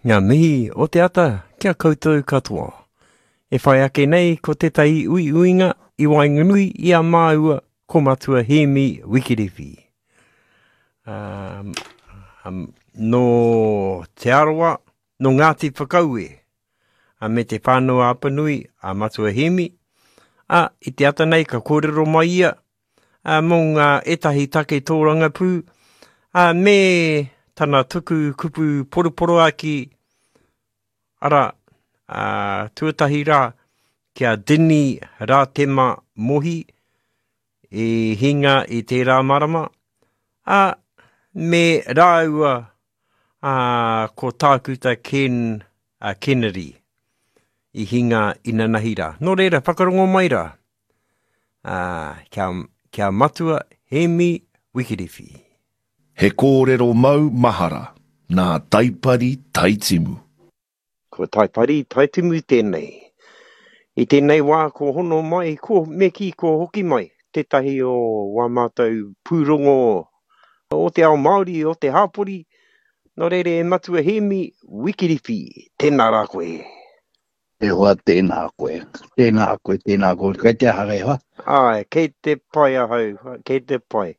Ngā mihi o te ata ki a koutou katoa. E whai ake nei ko tētahi uiuinga i waenganui i a māua ko Matua Hēmi Wikiriwhi. Um, um, nō Te Arawa, nō Ngāti Whakaue, a me Te Whānau-a-Apanui a Matua Hēmi, a, i te ata nei ka kōrero mai ia ā, mō ngā ētahi take tōrangapū, ā, me tana tuku kupu poroporoaki, arā, ā, tuatahi rā, ki a Dinny Rātema Mohi, i hinga i tērā marama, ā, me rāua ā, ko Tākuta Ken a Kennedy i hinga inanahi rā. Nō reira, whakarongo mai rā. Ā, kia, kia Matua Hēmi Wikiriwhi. He kōrero mau mahara nā Taipari Taitimu. Ko Taipari Taitimu tēnei. I tēnei wā ko hono mai, ko, me kī ko hoki mai tētahi o wā mātou pūrongo o te ao Māori, o te hāpori, nō reira e Matua Hēmi Wikiriwhi, tēnā rā koe. E hoa, tēnā koe. Tēnā koe, tēnā koe. Kei te aha e hoa? Āe, kei te pai ahau, kei te pai.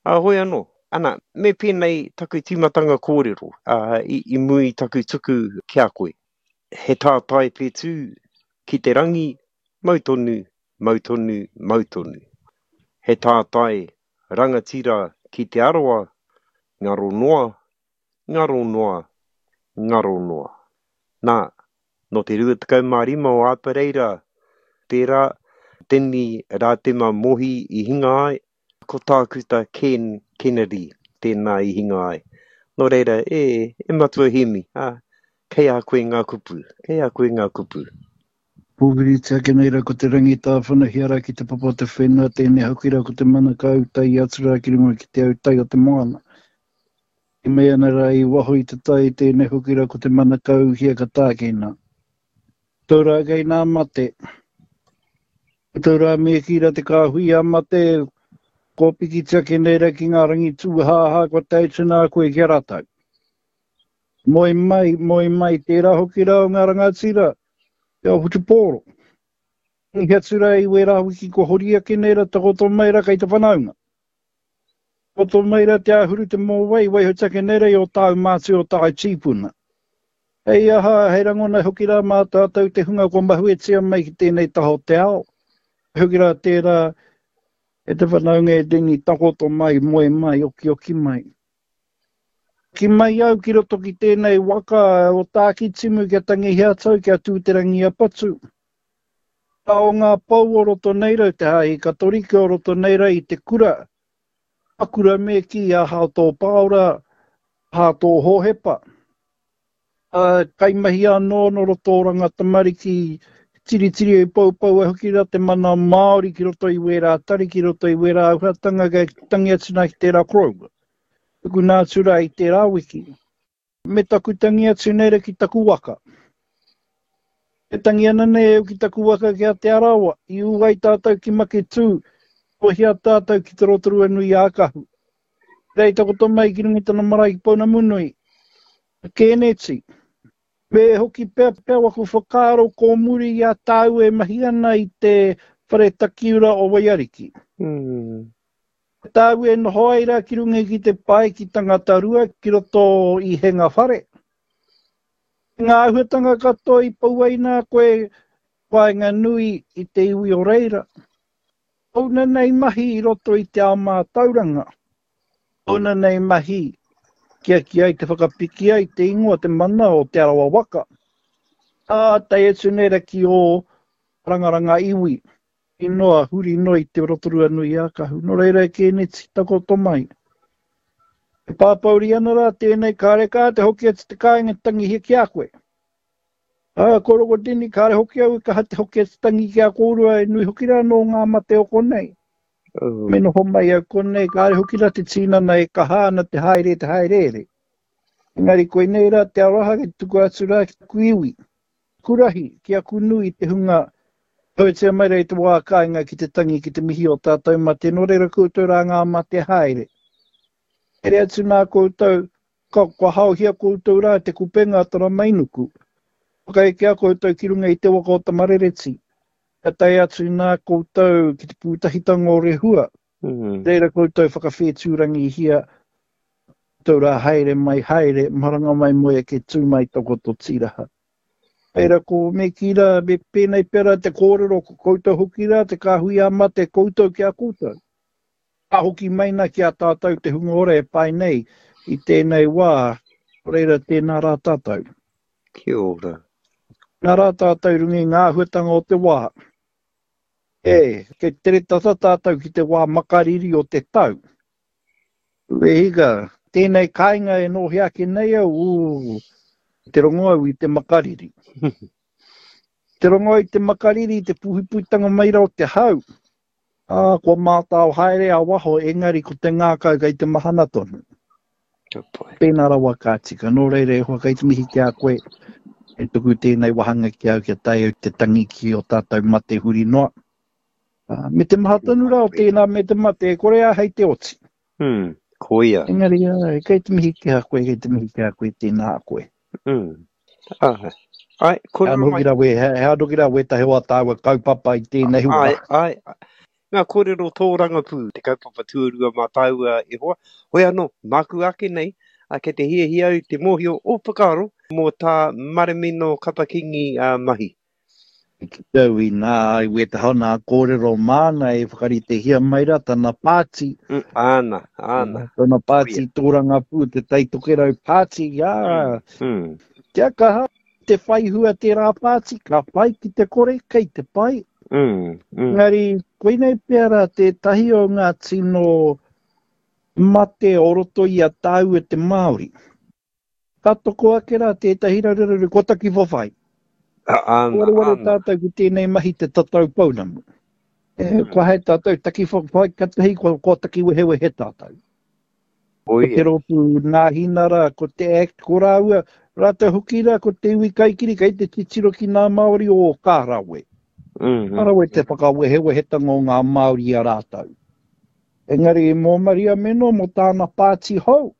Ā, hoi anō, ana, me pēnei taku tīmatanga kōrero, ā, i, i mua i taku tuku ki a koe. He tātai whetū ki te rangi, mau tonu, mau tonu, mau tonu. He tātai rangatira ki Te Arawa, ngaro noa, ngaro noa, ngaro noa. Nā, nō te 25 o Āpereira tērā, Teni Rātema Mohi i hinga ai, ko Tākuta Ken Kennedy tēnā i hinga ai. Nō reira, e, e Matua Hēmi, ā, kei a koe ngā kupu, kei a koe ngā kupu. Pōwhiritia ake nei rā ko te rangi tāwhanahia rā ki te papa o te whenua, tēnei hoki rā ko te mana ka autai atu rā ki runga ki te autai o te moana. E mea ana rā i waho i te tai, tēnei hoki rā ko te mana ka uhia ka tākina. Tau rā kei nā mate. Tau rā me kī rā te kāhui a mate, kua pikitia ake nei rā ki ngā rangi tūhāhā kua tae atu nā koe ki a rātou. Moe mai, moe mai, tērā hoki rā o ngā rangatira, te ao whutupōro. Mihi atu rā i wērā wiki kua hori ake nei rā, takoto mai rā kei te whanaunga. Takoto mai rā te āhuru te mōwai, waihotia ake nei rā i ō tāu mātua, ō tāu tīpuna. Hei aha, hei rangona hoki rā mā tātou te hunga kua mahuetia mai ki tēnei taha o te ao. Hoki rā tērā e te whanaunga e Denny, takoto mai, moe mai, okioki mai. Ki mai au ki roto ki tēnei waka o Tākitimu kia tangihia atu au kia Tū-te-rangi-a-Patu. Ka o ngā pou o roto nei rau te Hāhi Katorika o roto nei rau i te kura, a kura me kī a Hato Pāora, Hato Hōhepa. Ā, kaimahi anō nō roto o Oranga Tamariki, tiritiri e poupou ai hoki rā te mana Māori ki roto i wērā tari, ki roto i wērā āhuatanga kei tangi atu nā ki tērā koroua. Tukuna atu rā i tērā wiki. Me taku tangi atu nei ra ki taku waka. E tangi ana nei au ki taku waka ki a Te Arawa, i ū ai tātou ki Maketū, ohia tātou ki Te Rotorua-nui-ā-Kahu. Rei takoto mai ki runga i tana marae ki Pounamunui, a Kēneti. Me hoki pea pea waku whakaaro ko muri i a tāu e mahi ana i te whare takiura o Waiariki. Mm. Tāu e noho ai rā ki runga ki te pae ki Tangatarua ki roto i Henga Whare. Ngā āhuatanga katoa i pau ai nā koe waenganui i te iwi o reira. Ōna nei mahi i roto i te ao mātauranga. Ōna nei mahi kia ki ai te whakapiki ai te ingoa te mana o Te Arawa waka. Ā, tae atu nei ra ki ō rangaranga iwi. I noa, huri noa i te Rotorua nui a Kahu. Nō reira e Kēneti, takoto mai. E pāpouri ana rā tēnei, kāre kā te hoki atu te kāinga te tangihia ki a koe. Ā, ko Rogodini, kāre hoki au i kaha te hoki atu tangi ki a kōrua, e nui hoki rā nō ngā mate o konei. Oh. Me noho mai au konei, kāre hoki rā te tīnana e kaha ana te haere, te haereere. Engari koinei rā te aroha ki tuku atu rā ki taku iwi. Kurahi, ki aku nui te hunga Tautia mai rā i te wā kāinga ki te tangi ki te mihi o tātou mate, nō reira koutou rā ngā mate haere. Haere atu nā koutou. Ka, kua haohia koutou rā te kupenga a Taramainuku. Whakaekea koutou ki runga i te waka o Tamarereti. Kia tae atu nā koutou ki te pūtahitanga o Rehua. Mm. Reira koutou whakawhētūrangihia koutou rā haere mai, haere, maranga mai moe ake tū mai takoto tīraha. Reira ko me kī rā, me pēnei pea rā te kōrero, ko koutou hoki rā te kāhui ā mate koutou ki a koutou. Ka hoki mai na ki a tātou te hunga ora e pae nei i tēnei wā, reira tēnā rā tātou. Kia ora. Tēnā rā tātou i runga i ngā āhuatanga o te wā. E, kei tere tata tātou ki te wā makariri o te tau. E hika, tēnei kāinga e nōhia ake nei au, ū, te rongo au i te makariri. Te rongo au i te makariri, te puhipuhitanga mai rā o te hau. Ā, kua mātao haere a waho, engari ko te ngākau kei te mahana tonu. Ka pai. Pēnā rawa ka tika. Nō reira e hoa, kei te mihi ki a koe, e tuku tēnei wāhanga ki au kia tae au te tangi ki ō tātou mate huri noa. Ā, me te maha tonu rā o tēnā me te mate, e kore āhei te oti. Mm, koia. Engari, āe, kei te mihi ki a koe, kei te mihi ki a koe, tēnā koe. Mm. Āe. Āe, kōrero mai. He anō ki rā, he anō ki rā wētahi o ā tāua kaupapa i tēnei wā. Āe, āe. Ngā kōrero tōrangapū, te kaupapa tuarua mā tāua e hoa. Hoi anō, māku ake nei, ā, kei te hiahia au te mōhio o whakaaro mō tā Maremino Kapa-Kingi mahi. I kite au inā i wētahi o nā kōrero māna e whakaritehia mai rā tana pāti. Mm, āna, āna. Tana pāti tōrangapū, te Tai Tokerau pāti, ā, mm, mm. Kia kaha te whai hua tērā pāti, ka pai ki te kore, kei te pai. Mm, mm. Engari, koinei pea rā tētahi o ngā tino mate o roto i a tāua te Māori. Ka toko ake rā tētahi raruraru kua taki whawhai. Āna, Wareware tātou ki tēnei mahi te tatau pounamu. E, mm. Kua hae tātou taki whawhai, katahi kua, kua taki wehewehe tātou. Ko te rōpū Nāhinara, ko te Act, ko rāua, rātou hoki rā, ko te iwi kaikiri, kei te titiro ki ngā Māori o ka rawe. Mm -hmm. Ka rawe te whakawehewehetanga o ngā Māori i a rātou. Engari mō Maria Meno, mō tāna pāti hou,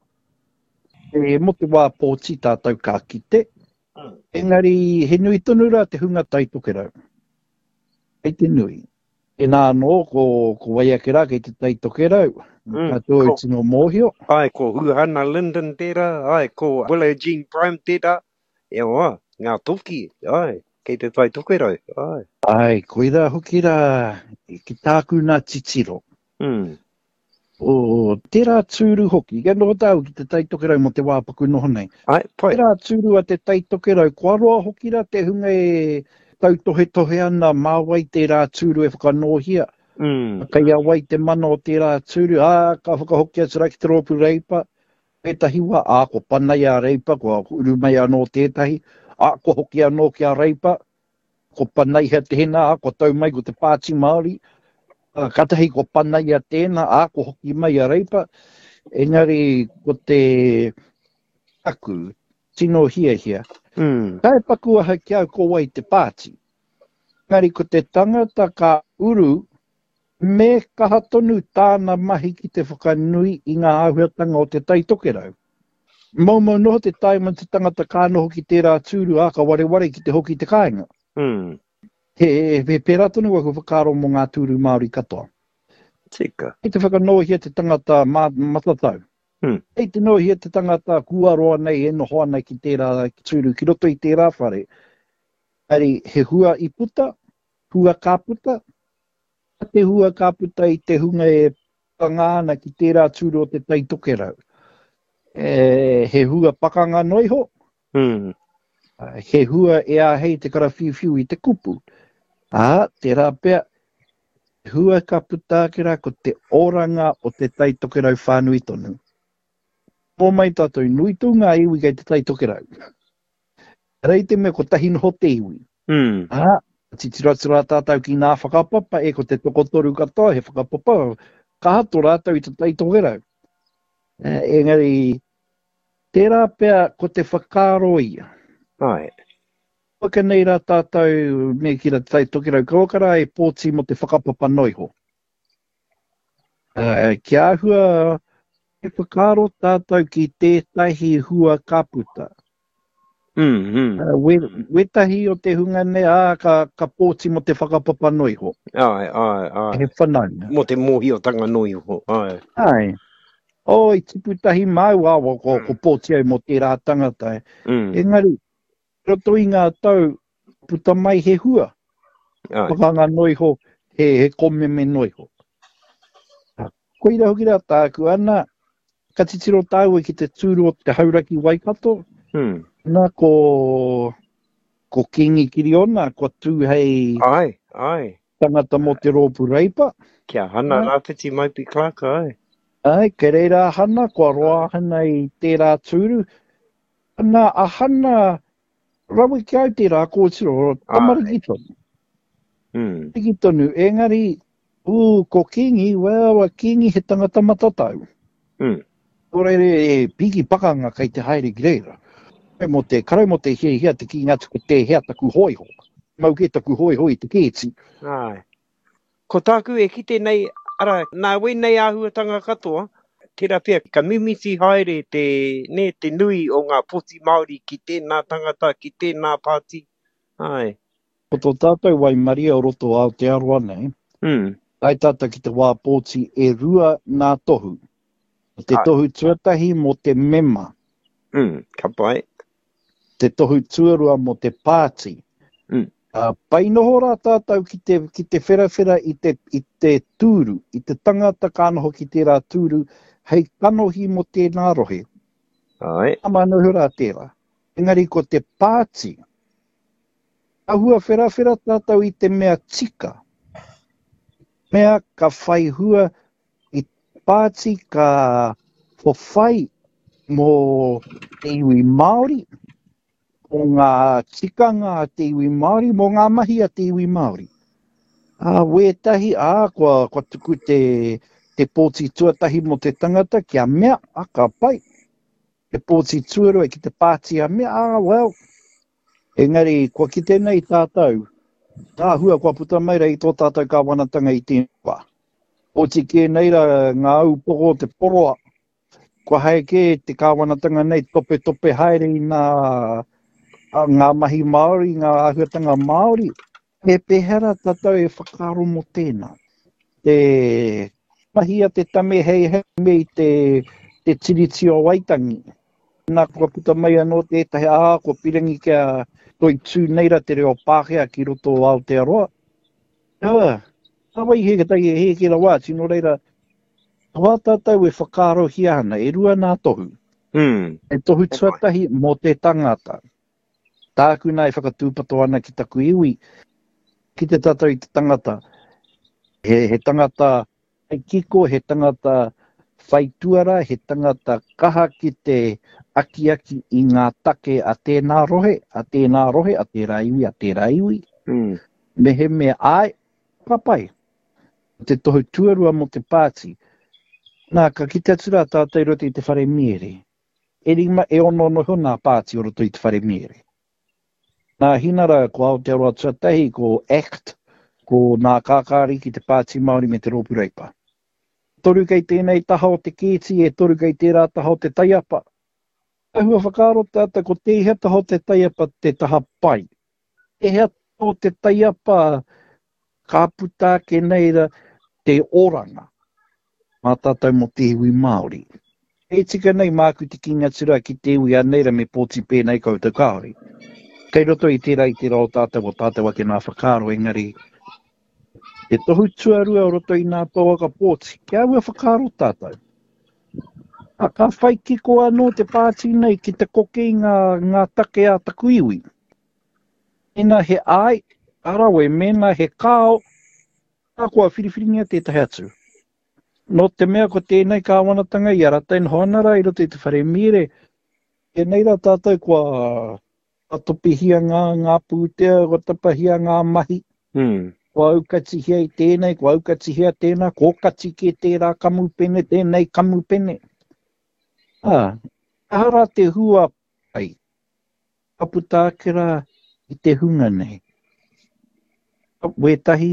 E, mō te wā pōti tātou ka kite, engari he nui tonu rā te hunga Tai Tokerau. Kei te nui. Tēnā anō, ko, ko wai ake rā kei te Tai Tokerau, mm, katoa i tino mōhio. Ai, ko Huhana Lyndon tērā, ai, ko Willow Jean Prime tērā, e oa, ngā toki, ai, kei te Tai Tokerau, ai. Ai, koirā hoki rā, ki tāku nā titiro. Mm. O, tērā tūru hoki, kia noho tāu ki te Tai Tokerau mō te wā paku noho nei. Ai, pai. Tērā tūru a te Tai Tokerau, kua roa hoki rā te hunga e tautohetohe ana mā wai tērā tūru e whakanōhia. Mm. Kei a wai te mana o tērā tūru, ā, ka whakahoki atu rā ki te rōpū Reipa. Ētahi wā, ā, kua panai a Reipa, kua uru mai anō tētahi, ā, kua hoki anō ki a Reipa. Ko Panaiha tēnā, ā, kua tau mai ko te Pāti Māori, ā, kātahi ko Panaia tēnā, ā, kua hoki mai a Reipa. Engari ko te aku tino hiahia, mm. Kae paku aha ki au ko wai te pāti. Engari ko te tangata ka uru, me kaha tonu tāna mahi ki te whakanui i ngā āhuatanga o te Tai Tokerau. Moumou noho te taima te tangata ka noho ki tērā tūru, ā, ka wareware ki te hoki i te kāinga. Mm. He, he pērā tonu aku whakaaro mō ngā tūru Māori katoa. Tika. Kei te whakanōhia te tangata mā, matatau. Mm. Kei te nōhia te tangata kua roa nei e noho ana ki tērā tūru, ki roto i tērā whare. Engari, he hua i puta, hua ka puta, te hua ka puta i te hunga e pakanga ana ki tērā tūru o Te Tai Tokerau. E, he hua pakanga noa iho, mm. he hua e āhei te karawhiuwhiu i te kupu. Ā, tērā pea, hua ka puta ake rā ko te oranga o Te Tai Tokerau whānui tonu. Mō mai tātou, nui tū ngā iwi kei Te Tai Tokerau. Ehara i te mea kotahi noho te iwi. Mm. Ā, titiro atu rā tātou ki ngā whakapapa, e ko te tokotoru katoa, he whakapapa kaha tō rātou i te Tai Tokerau. Engari, tērā pea ko te whakaaro ia. Āe. Waka nei rā tātou me ki rā te Tai Tokerau, kauaka rā e pōti mō te whakapapa noa iho. Kia āhua. Me whakaaro tātou ki tētahi hua ka puta. Mm, mm. Uh, we, wetahi o te hunga nei, ā, ka, ka pōti mō te whakapapa noa iho. Ai, ai, ai. He whanaunga. Mō te mōhiotanga noa iho, ai. Ai. Oh, i tipu tahi māua, ko, ko, ko pōti au mō tērā tangata. Mm. Engari, roto i ngā tau, puta mai he hua. Ai. Pakanga noa iho, he, he komeme noa iho. Koira hoki rā tāku, ana, ka titiro tāua ki te tūru o te Hauraki Waikato, mm. ana, ko, ko Kingi Kiriona, kua tū hei ai, ai. tangata mō te rōpū Reipa. Kia Hana Rāwhiti Maipi Clark, ai. Ai, kei reira a Hana, kua roa a Hana i tērā tūru. Ana, a Hana, rawe ki au tērā kōtiro, tamariki tonu. Mm. Tamariki tonu, engari, ū, ko Kingi, well, a Kingi he tangata matatau. Mm. Nō reira, e piki pakanga kei te haere ki reira. Mō te, karau mō te hiahia te kīnga atu ko tēhea taku hōiho. Mau kē taku hōiho i te kēti. Āe. Ko tāku e kite nei, arā, nā wēnei āhuatanga katoa, tērā pea ka mimiti haere te, nē, te nui o ngā poti Māori ki tēnā tangata, ki tēnā pāti, āe. Ko tō tātou waimarie o roto o Aotearoa nei, Mm. tae tātou ki te wā pōti e rua nā tohu. Ko te Āe. tohu tuatahi mō te mema. Mm, ka pai. Te tohu tuarua mō te pāti. Mm. Ā, pai noho rā tātou ki te, ki te wherawhera i te, i te tūru, i te tangata ka noho ki tērā tūru hei kanohi mō tēnā rohe. Āe. Māmā noho rā tērā. Engari ko te pāti, āhua wherawhera tātou i te mea tika, mea ka whai hua i te pāti ka whawhai mō te iwi Māori, mō ngā tikanga a te iwi Māori, mō ngā mahi a te iwi Māori. Ā, wētahi, ā, kua, kua tuku te, te pōti tuatahi mō te tangata kia mea, ā, ka pai. Te pōti tuarua ki te pāti a mea, ā, well, engari kua kite nei tātou, ngā hua kua puta mai rā i tō tātou kāwanatanga i tēnei wā. Oti kē nei rā ngā upoko o te poroa, Kua hae kē te kāwanatanga nei topetope haere i nā, ngā mahi Māori, ngā āhuatanga Māori. Me pēhea rā tātou e whakaaro mō tēnā? Te mahi a te tame hei hei me i te, te Tiriti o Waitangi. Nā, kua puta mai anō tētahi, ā, kua pirangi kia toitū nei rā te reo Pākehā ki roto o Aotearoa. Ā, nā wai he tahi e hēke rawa atu, nō reira, Wā tātou e whakaarohia ana, e rua nā tohu. Mm. He tohu tuatahi mō te tangata. Tāku nā e whakatūpato ana ki taku iwi, ki te tātou i te tangata. He, he tangata whai kiko, he tangata whai tuara, he tangata kaha ki te akiaki i ngā take a tēnā rohe, a tēnā rohe, a tērā iwi, a tērā iwi. Mm. Mehemea āe, ka pai. Ko te tohu tuarua mō te pāti. Nā, ka kite atu rā tātou i roto i te whare miere. E rima, e ono noa iho nā pāti o roto i te whare miere. Nā Hinara, ko Aotearoa Tuatahi, ko act, ko Nā Kākāriki, te Pāti Māori me te Rōpū Reipa. Toru kei tēnei taha o te kēti, e toru kei tērā taha o te taiapa. Āhua whakaaro tātou ko tēhea taha o te taiapa te taha pai. Tēhea taha o te taiapa ka puta ake nei ra te oranga mā tātou mō te iwi Māori. E tika nei māku te kīngi atu rā ki te iwi anei ra me pōti pēnei koutou kāore. Kei roto i tērā i tērā o tātou o tātou ake nā whakaaro engari te tohu tuarua o roto i nā pouaka pōti kia ua whakaaro tātou. A, ka whai kiko anō te pāti nei ki te koke i ngā, ngā take a taku iwi. Mēnā he āe, ka rawe, mēnā he kāo, ka kua whiriwhiringia tētahi atu. Nō te mea ko tēnei kāwanatanga i a rātou e noho ana rā i roto i te whare mīre, tēnei rā tātou kua topihia ngā, ngā pūtea, kua tapahia ngā mahi, mm. kua aukatihia i tēnei, kua aukatihia tēnā, kua okati kē tērā kamupene, tēnei kamupene. Ā, aha rā te hua pai? Ka puta ake rā i te hunga nei. Wētahi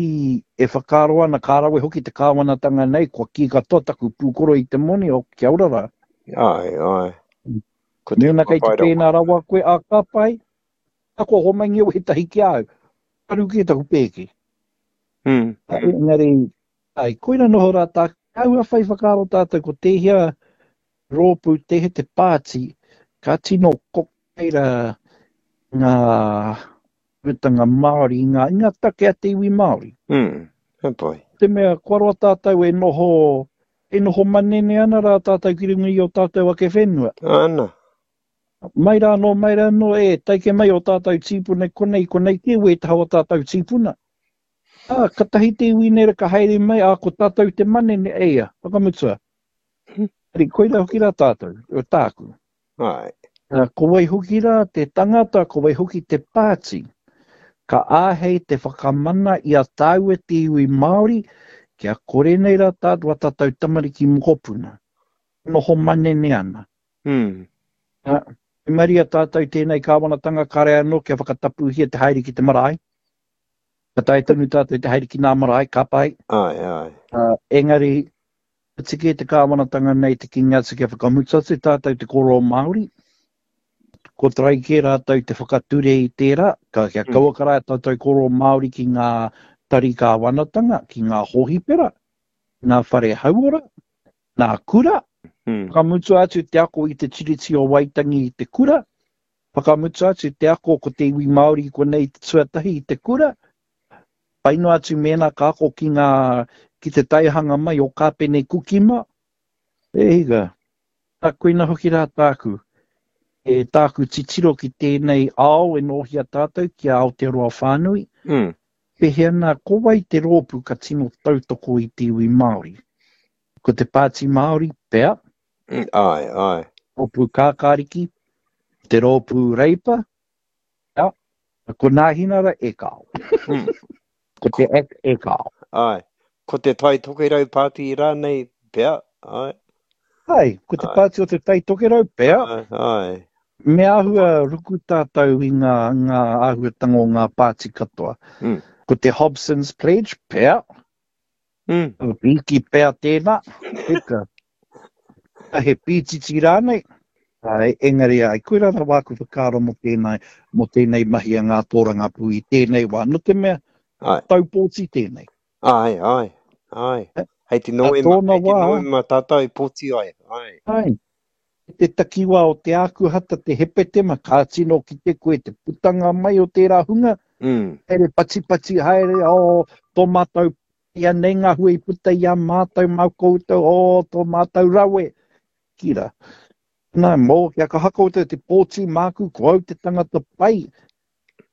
e whakaaro ana ka rawe hoki te kāwanatanga nei, kua kī katoa taku pūkoro i te moni, oh, kia ora rā. Āe, āe. Ko te Mēnā kei te pēnā rawa koe, ā, ka pai, ka kua homaingia wētahi ki a au. Karu kē taku pēke. Mm. Engari, ai, koira noho rā tā, āhua whai whakaaro tātou ko tēhea rōpū, tēhea te pāti, ka tino kokeira ngā putanga Māori, ngā, ngā take a te iwi Māori. Mm, he pai. Te mea, kua roa tātou e noho, e noho manene ana rā tātou ki runga i o tātou ake whenua. Ana. Mai rā anō, mai rā anō, e, taike mai o tātou tīpuna konei, konei kē wētaha o tātou tīpuna. Ā, katahi te iwi nei ka haere mai, ā, ko tātou te manene, eia, whakamutua. Ari, koira hoki rā tātou, o tāku. Āe. Ā, ko wai hoki rā te tangata, ko wai hoki te pāti, ka āhei te whakamana i a tāua te iwi Māori, kia kore nei rā tātou a tātou tamariki mokopuna, noho manene ana. Mm. Ā, waimaria tātou tēnei kāwanatanga kare anō kia whakatapuhia te haere ki te marae. Ka taea tonu tātou te haere ki nā marae, ka pai. Āe, āe. Ā, engari, ka tiki e te kāwanatanga nei te kīngi atu kia whakamutu atu tātou te kōrero Māori. Ko tarai kē rātou te whakature i tērā, ka, kia mm. kauaka rā tātou kōrero Māori ki ngā tari kāwanatanga, ki ngā hōhipera, ngā whare hauora, ngā kura, mm. whakamutu atu te ako i te Tiriti o Waitangi i te kura, whakamutu atu te ako ko te iwi Māori konei te tuatahi i te kura, Pai noa atu mēnā ka ako ki ngā, ki te taihanga mai o Kāpene Kukima. E hika, tā koina hoki rā tāku, e tāku titiro ki tēnei ao e nōhia tātou ki a Aotearoa whānui. Mm. Pēhea nā, ko wai te rōpū ka tino tautoko i te iwi Māori? Ko te Pāti Māori, pea? Mm, āe, āe. Rōpū Kākāriki, te rōpū Reipa, Pea? Ko Nāhinara e kao. Mm. Ko te Act e kao. Ai. Ko te Tai Tokerau Pāti rānei, pea, ai. Ai, ko te pāti o te Tai Tokerau, pea. Ai, ai. Me āhua ruku tātou i ngā, ngā āhuatanga o ngā pāti katoa. Mm. Ko te Hobson's Pledge, pea. Mm. Pīki pea tēnā. Heka. He pītiti rānei. Ai, engari ai, koirā rawa aku whakaaro mō tēnā, mō tēnei mahi a ngā tōrangapū i tēnei wā. Nō te mea, ai. tau pōti tēnei. Ai, ai, ai. Hei te Noema, hei te Noema tātou pōti ai. Ai. Ai. Te takiwā o te Ākuhata, te Hepetema, ka tino kite koe te putanga mai o tērā hunga, mm. haere patipati haere, oh, tō mātou, ia nei ngā hua i puta i a mātou, mā koutou, oh, tō mātou rawe. Kira. Nā, mō, kia kaha koutou te pōti māku, ko au te tangata pai.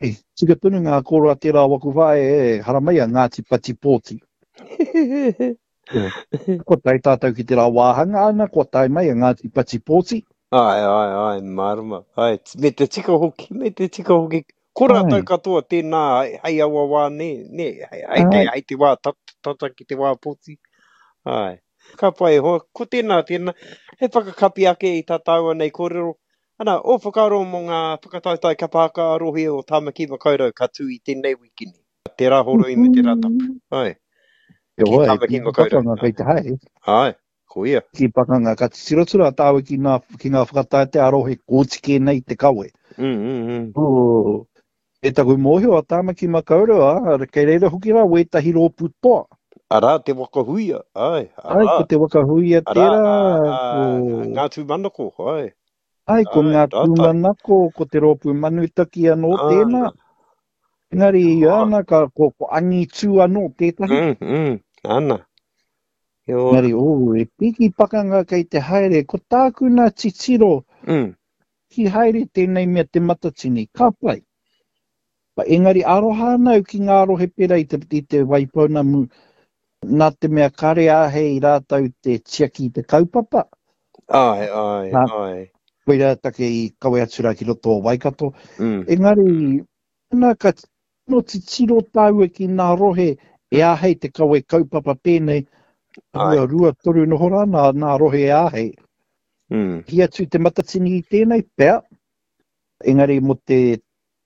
E, tika tonu ngā kōrero a tērā o waku whaea, e, haramai a Ngāti Pati Pōti. Kua tae tātou ki tērā wāhanga, ana, kua tae mai a Ngāti Pati Pōti. Āe, āe, āe, mārama. Āe, me te tika hoki, me te tika hoki. Ko rātou katoa tēnā hei aua wā, nē, nē, hei, hei, te, hei te wā tata ki te wā pōti. Āe. Ka pai e hoa, ko tēnā, tēnā, hei whakakapi ake i tā tāua nei kōrero, Ana, ō whakaaro mō ngā whakataetae kapa haka ā-rohe o Tāmaki Makaurau ka tū i tēnei wikini, te Rāhoroi me te Rātapu. Āe. Ki Ki Tāmaki Makaurau. Pakanga kei te haere. Āe, ko ia. Ki pakanga, ka titiro atu rā tāua ki ngā, ki ngā whakataetae ā-rohe kōti kē nei te kawe. Mm, mm, mm. Oh, e taku mōhio a Tāmaki Makaurau, ā, kei reira hoki rā wētahi rōpū toa. Arā, te waka huia, āe, arā. Āe, ko te waka huia tērā, arā, ā, ko... Ngā Tūmanako, āe. Āe, ko Ngā Tūmanako, ko te rōpū Manutaki anō tēnā. Engari, ana, ka, ko, ko Angitū anō tētahi. Mm, mm, ana. Engari, oh, e piki pakanga kei te haere, ko tāku nā titiro, mm. ki haere tēnei mea te Matatini, ka pai. Engari aroha ana au ki ngā rohe pērā i te, i te Waipounamu, nā te mea kare āhei rātou te tiaki i te kaupapa. Āe, āe, nā, āe. Koirā take i kawe atu rā ki roto o Waikato. Mm. Engari, nā, ka tino titiro tāua ki ngā rohe e āhei te kawe kaupapa pēnei, Āe. rua, rua, toru noho rā nā, nā rohe e āhei. Mm. Hi atu te Matatini i tēnei, pea, engari mō te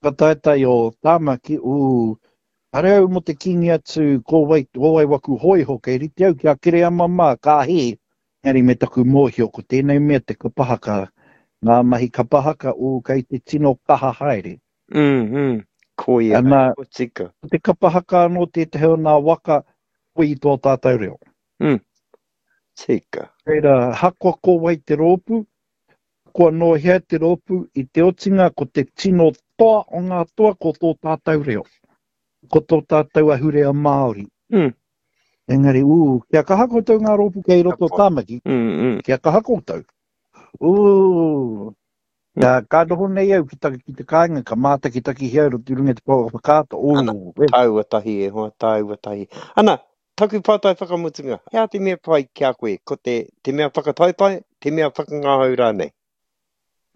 whakataetae o Tāmaki, ū, Hare au mō te kīngi atu ko wai, ko wai waku hōiho kei rite au ki a Kereama mā, ka hē. Engari me taku mōhio ko tēnei mea te kapa haka, ngā mahi kapa haka, ū, kei te tino kaha haere. Mm, mm, koia, Ana, ko tika. Ko te kapa haka anō tētahi o nā waka koi i tō tātou reo. Mm, tika. Reira, hakoa ko wai te rōpū, Kua nō hea te rōpū i te otinga ko te tino toa o ngā toa ko tō tātou reo, ko tō tātou ahurea Māori. Mm. Engari, ū, kia kaha koutou ngā rōpū kei roto o Tāmaki, mm, mm. kia kaha koutou. Ū, mm. ka, ka noho nei au ki, ta, ki te kāinga, ka mātakitakihia au roto i runga i te pouaka whakaata, ū, Ana, tāua tahi e hoa, tāua tahi. Ana, Taku pātai whakamutunga, he aha te mea pai ki a koe, ko te, te mea whakataetae, te mea whakangahau rānei?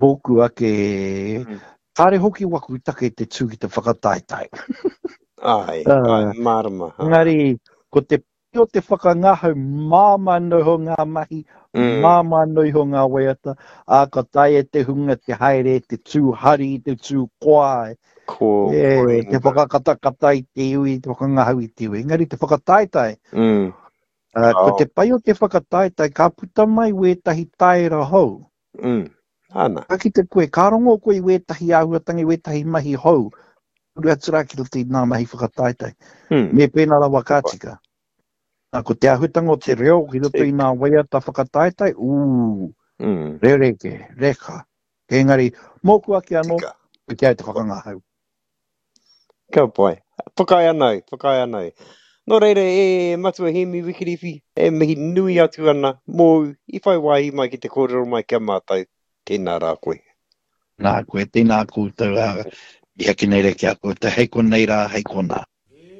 Mōku ake, kāre hoki waku take te tū ki te whakataetae. Āe, āe, mārama. Engari, ko te pai o te whakangahau, māmā noa iho ngā mahi, māmā noa iho ngā waiata, ā, ka taea te hunga te haere, te tū hari, te tū koa, Ko, e, te whakakatakata i te iwi, te whakangahau i te iwi. Engari te whakataetae, mm. uh, ko te pai o te whakataetae, ka puta mai wētahi taera hou. Mm. Ana. Ka kite koe, ka rongo koe i wētahi āhuatanga, i wētahi mahi hou, uru atu rā ki roto i ngā mahi whakataetae. Mm. Me pēnā rawa ka tika. Nā, ko te āhuatanga o te reo ki roto i ngā waiata whakataetae, ū, mm. rereke, reka. Engari, mōku ake anō, ko te au te whakangahau. Ka pai. Whakaae ana au, whakaae ana au. Nō reira, e Matua Hēmi Wikiriwhi, e mihi nui atu ana mōu i whai wāhi mai ki te kōrero mai ki a mātou. Tēnā rā koe. Nā koe, tēnā koutou, ā, i haki nei rā ki a koutou, hei konei rā, hei konā.